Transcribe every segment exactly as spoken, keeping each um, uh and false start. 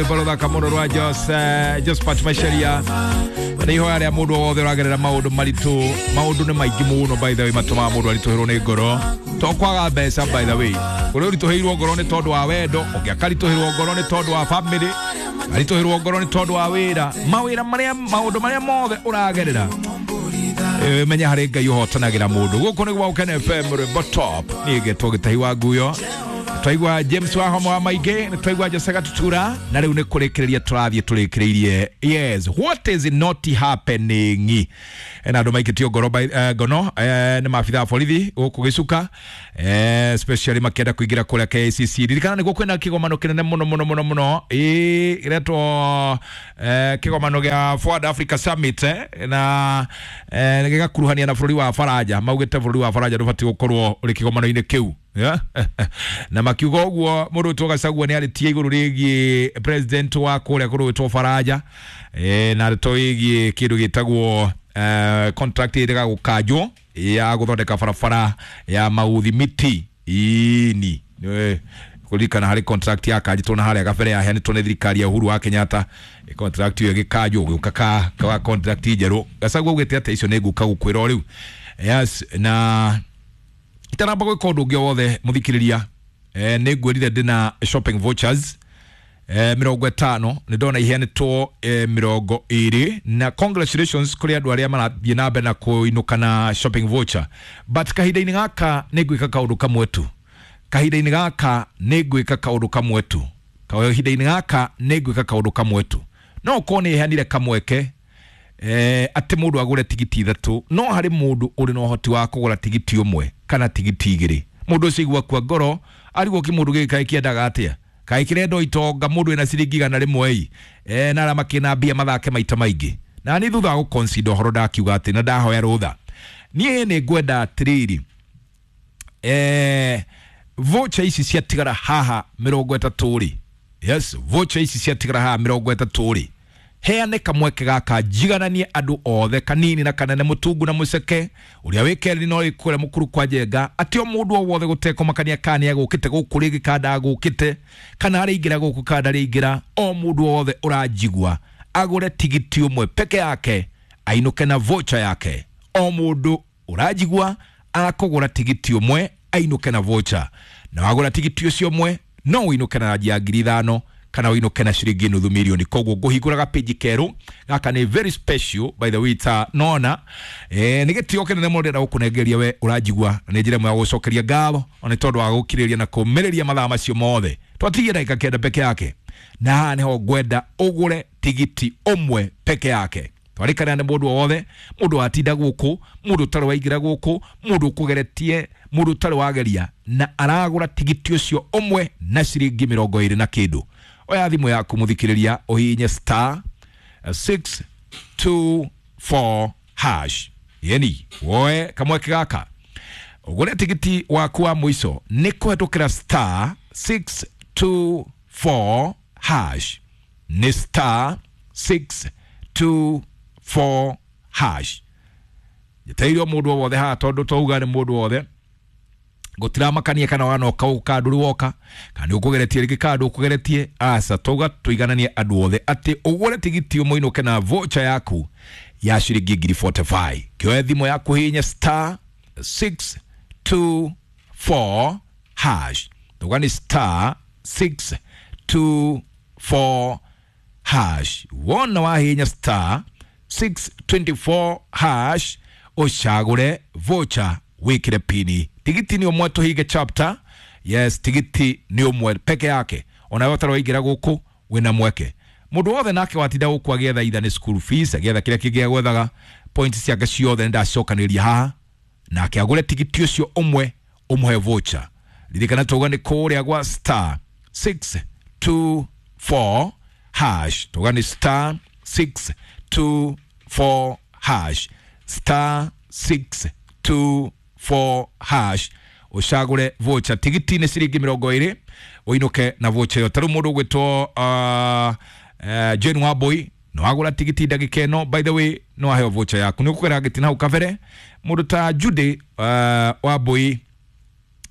Rwĩmbo rũthaka mũno rwa Jose Josephat Macharia. Nĩ ihoya rĩa mũndũ wothe ũragerera maũndũ maritũ. Maũndũ nĩ maingĩ mũno, by the way, matũmaga mũndũ aritũhĩrwo nĩ ngoro, to kwaga mbeca. By the way, kũrĩ ũritũhĩirwo ngoro nĩ tondũ wa wendo, ũngĩ akaritũhĩrwo ngoro nĩ tondũ wa family, aritũhĩrwo ngoro nĩ tondũ wa wĩra, mawĩra marĩa, maũndũ marĩa mothe ũragerera. Eh, menya harĩ Ngai ũhotanagĩra mũndũ. Gũkũ nĩ gwa Ũkene F M, rwĩmbo top. Niĩ ngetwo Gĩtahi wa Nguyo. Twaigua James wa Homo wa maingĩ, nĩ twaigua Jose Gatutura, na rĩu nĩ kũrĩkĩrĩria tũrathiĩ tũrĩkĩrĩirie. Yes, what is not happening? Na andũ maikĩtio ngoro by, uh, ngono eh, nĩ maabitha a borithi gũkũ Gĩcuka, eh, especially makĩenda kũingĩra kũrĩa K I C C. Ririkana nĩguo kwĩna kĩgomano kĩnene mũno mũno mũno mũno, ĩ kĩretwo eh, kĩgomano gĩa Forward Africa Summit, eh, na eh, gĩgakuruhania na bũrũri wa Faranja. Maugĩte bũrũri wa Faranja ndũbatiĩ gũkorwo ũrĩ kĩgomano-inĩ kĩu. Yeah? Na makiuga ũguo, mũndũ wĩtwo Gachagua nĩ arĩtie igũrũ rĩgiĩ president wa kũrĩa kũndũ gwĩtwo Faranja, eh, na ndeto ĩgiĩ kĩndũ gĩtagwo eh, contract ĩrĩga gũkanjwo ya gũthondeka barabara ya Mauthi Miti ini. Kũririkana harĩ contract yakanjĩtwo na harĩa gabere, yaheanĩtwo nĩ thirikari ya Uhuru wa Kenyatta. Eh, contract ĩyo ĩgĩkanjwo, gũka ka ka contract njerũ. Gachagua augĩte atĩ icio nĩ ngũka gũkwĩra o rĩu. Yes, na itanamba gwĩka ũndũ ũngĩ o wothe, mũthikĩrĩria, eh, nĩ ngwĩrire ndĩna shopping vouchers eh, mĩrongo ĩtano. Nĩ ndona iheanĩtwo eh, mĩrongo ĩrĩ, na congratulations kũrĩ andũ arĩa marathiĩ na mbere na kũinũka na shopping voucher. But kahinda-inĩ gaka nĩ ngwĩka kaũndũ kamwe tu. Kahinda-inĩ gaka nĩ ngwĩka kaũndũ kamwe tu. Kahinda-inĩ gaka nĩ ngwĩka kaũndũ kamwe tu. No ũkorwo nĩ heanire kamweke eh, atĩ mũndũ agũre tigiti ithatũ, no harĩ mũndũ ũrĩ na ũhoti wa kũgũra tigiti ũmwe kana tigiti igĩrĩ. Mũndũ ũcio igua kua ngoro, arigwo kĩ mũndũ gĩkĩ kaĩ kĩendaga atĩa, kaĩ kĩrenda itonga, mũndũ wĩna ciringi igana rĩmwe ĩ eh, na arĩa makĩna mbia mathake maita maingĩ. Na niĩ thutha wa gũconsider ũhoro, ndakiuga atĩ na ndahoya rũtha, niĩ nĩ ngwenda atĩrĩrĩ, eh, voucher ici ciatigara haha mĩrongo ĩtatũ rĩ, yes, voucher ici ciatigara haha mĩrongo ĩtatũ rĩ, heane kamweke gaka njigananie andũ othe, kanini na kanene, mũtungu na mũceke, ũrĩa wĩ kerĩ no kũrĩa mũkuru kwa njenga, atĩ o mũndũ o wothe gũtekũmakania kana nĩ agũkĩte gũkũ rĩngĩ kana ndagũkĩte, kana arĩingĩra gũkũ kana ndarĩingĩra, o mũndũ o wothe ũranjigua agũre tigiti ũmwe peke yake, ainũke na voucher yake. O mũndũ ũranjigua akũgũra tigiti ũmwe, ainũke na voucher. Na wagũra tigiti ũcio ũmwe, no ũinũke na ranji ya ngiri ithano kana ũinũke na ciringi nuthu milioni. Koguo ngũhingũraga page kerũ gaka nĩ very special, by the way, ta nona eh, nĩ gĩtĩo kĩnene mũno ndĩrenda gũkũnengeria we ũranjigua, na nĩ njĩra ĩmwe ya gũcokeria ngatho ona nĩ tondũ wa gũkirĩrĩria na kũmĩrĩria mathaa macio mothe. Twatigie ndagĩka kenda peke yake, na haha nĩho ngwenda ũgũre tigiti ũmwe peke yake. Twarĩkana nĩ mũndũ o wothe, mũndũ watinda gũkũ, mũndũ ũtarĩ waingĩra gũkũ, mũndũ ũkũgeretie, mũndũ ũtarĩ wageria na aragũra tigiti ũcio ũmwe na ciringi mĩrongo ĩrĩ na kĩndũ. Oya thimũ yaku, mũthikĩrĩria, ũhihinye star six two four hash, yeni woe kamweke gaka ũgũre tigiti waku wa mũico nĩ kũhetũkĩra star six two four hash. Nĩ star six two four hash. Njeteire o mũndũ o wothe haha, tondũ twauga nĩ mũndũ wothe, gũtiramakania kana wanoka gũkũ kana ndũrĩ woka, kana nĩ ũkũgeretie rĩngĩ kana ndũkũgeretie. Aca, twauga tũigananie andũ othe atĩ ũgũre tigiti ũmwe, ũinũke na voucher yaku ya ciringi ngiri mĩrongo ĩna na ithano. Kĩoe thimũ yaku, hihinya star six two four hash. Tuga nĩ star six two four hash. Wona wahihinya star six two four hash, ũcagũre voucher, wĩkĩre pini. Tigiti nĩ ũmwe, tũhinge chapter. Yes, tigiti nĩ ũmwe peke yake. Ona we ũtarĩ waingĩra gũkũ, wĩna mweke. Mũndũ wothe nake watinda gũkũ agĩetha itha nĩ school fees, agĩetha kĩrĩa kĩngĩ agwethaga, points ciake ciothe nĩ ndacokanĩria haha, nake agũre tigiti ũcio ũmwe, ũmũhe voucher. Ririkana tauga nĩ kũrĩa gwa star six two four hash. Tauga nĩ star six two four hash, star six two four hash, ũcagũre voucher. Tigiti nĩ ciringi mĩrongo ĩrĩ, ũinũke na voucher ĩyo. Ta rĩu mũndũ ũgwĩtwo uh, uh, Jane Wambui no agũra tigiti ndagĩka ĩno, by the way, no aheo voucher yaku. Nĩ ũkũgera gĩtina hau kabere. Mũndũ ta Judy uh, Wambui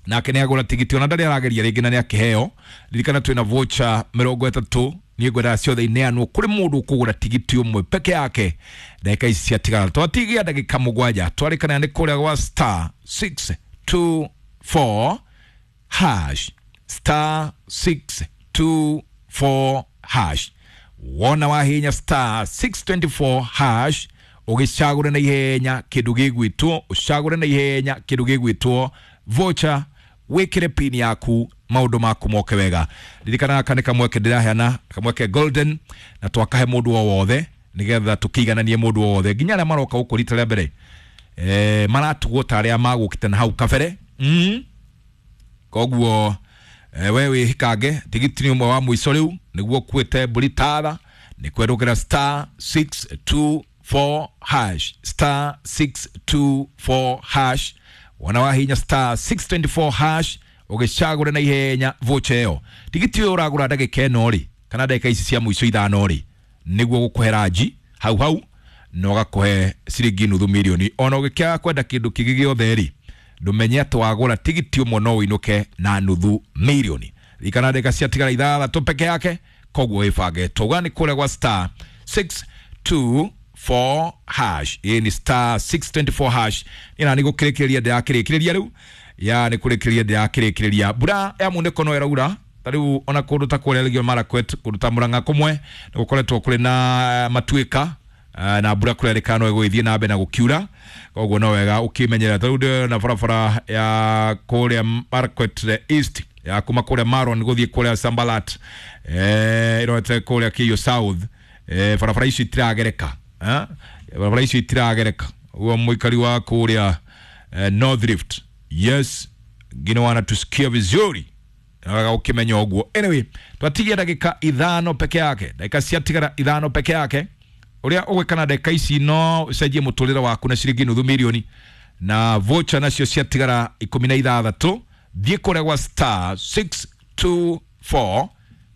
nake nĩ agũra tigiti, ona ndarĩ arageria rĩngĩ, na nĩ akĩheo. Ririkana twĩna voucher mĩrongo ĩtatũ. Niĩ ngwendaga ciothe ineanwo kũrĩ mũndũ ũkũgũra tigiti ũmwe peke yake. Ndagĩka ici ciatigara twatigia ndagĩka mũgwanja, twarĩkana nĩ kũrĩa gwa star six two four hash, star six two four hash. Wona wahinya star six twenty four hash, ũgĩcagũre na ihenya kĩndũ gĩgwĩtwo, ũcagũre na ihenya kĩndũ gĩgwĩtwo voucher, wĩkĩre pin yaku maũndũ maku moke wega. Ririkana gaka nĩ kamweke ndĩraheana, kamweke golden, na twakahe mũndũ o wothe nĩgetha tũkĩigananie mũndũ o wothe nginya arĩa maroka gũkũ rita rĩa mbere, eh, maratugwo ta arĩa magũkĩte na hau kabere. mm. Koguo eh, we wĩhikange tigiti nĩ ũmwe wa mũico rĩu nĩguo ũkuĩte mbũri tara nĩ kwerũkĩra star six two four hash, star six two four hash. Wona wahinya star six twenty four hash ũgĩcagũre na ihenya voucher ĩyo. Tigiti ũyũ ũragũra ndagĩka ĩno rĩ, kana ndagĩka ici cia mũico ithano rĩ, nĩguo gũkũhe ranji hau hau na ũgakũhe ciringi nuthu mirioni. Ona ũgĩkĩaga kwenda kĩndũ kĩngĩ gĩothe rĩ, ndũmenye atĩ wagũra tigiti ũmwe no ũinũke na nuthu mirioni. Ririkana ndagĩka ciatigara ithathatũ peke yake, koguo wĩbange. Twauga nĩ kũrĩa gwa star six two four hash. Ĩĩ ni star six twenty four hash. Niĩ nani gũkĩrĩkĩrĩria ndĩrakĩrĩkĩrĩria rĩu, ya nĩ kũrĩkĩrĩria ndĩrakĩrĩkĩrĩria. Mbura ya munĩko no ĩraura ta rĩu ona kũndũ ta kũrĩa Elgeyo Marakwet, kũndũ ta Murang'a kũmwe nĩ gũkoretwo kũrĩ na matuĩka na mbura kũrerĩkana no ĩgũgĩthiĩ na mbere na gũkiura, koguo no wega ũkĩmenyerera. Ta rĩu ndĩrona barabara ya kũrĩa Marakwet East ya kuma kũrĩa Maron gũthiĩ kũrĩa Sambalat, eh, ĩrorete kũrĩa Keiyo South, eh, barabara icio itiragereka, eh, barabara icio itiragereka. Ũguo mũikari wa kũrĩa eh, North Rift, yes, ngine wanatusikia vizuri wega ukimenya ũguo. Anyway, twatigia ndagĩka ithano peke yake, ndagĩka ciatigara ithano peke yake. Ũrĩa ũgwĩka na ndagĩka ici no ũcenjie mũtũrĩre waku na ciringi nuthu mirioni, na voucher nacio ciatigara ikũmi na ithathatũ. Thiĩ kũrĩa gwa star six two four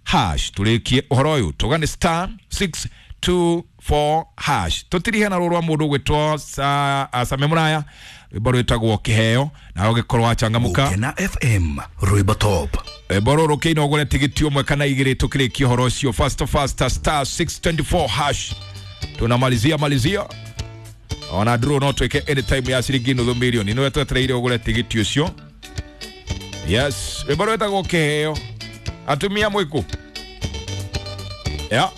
hash tũrĩkie ũhoro ũyũ. Tuga nĩ star six two four hash. Tũtirihe na rũrũ rwa mũndũ ũgwĩtwo sa, Same Mũraya, rwĩmbo rwĩtagwo Kĩheo, na ũgĩkorwo wachangamũka. Gũkena F M rwĩmbo top. Rwĩmbo rũrũ kĩina ũgũre tigiti ũmwe kana igĩrĩ tũkĩrĩkie ũhoro ũcio. Fast fast star six twenty four hash. Tunamalizia malizia. Ona draw no twĩke anytime ya ciringi nuthu mirioni. Nĩwe twetereire ũgũre tigiti ũcio. Yes, rwĩmbo rwĩtagwo Kĩheo. Atumia mwĩkũ? Yeah.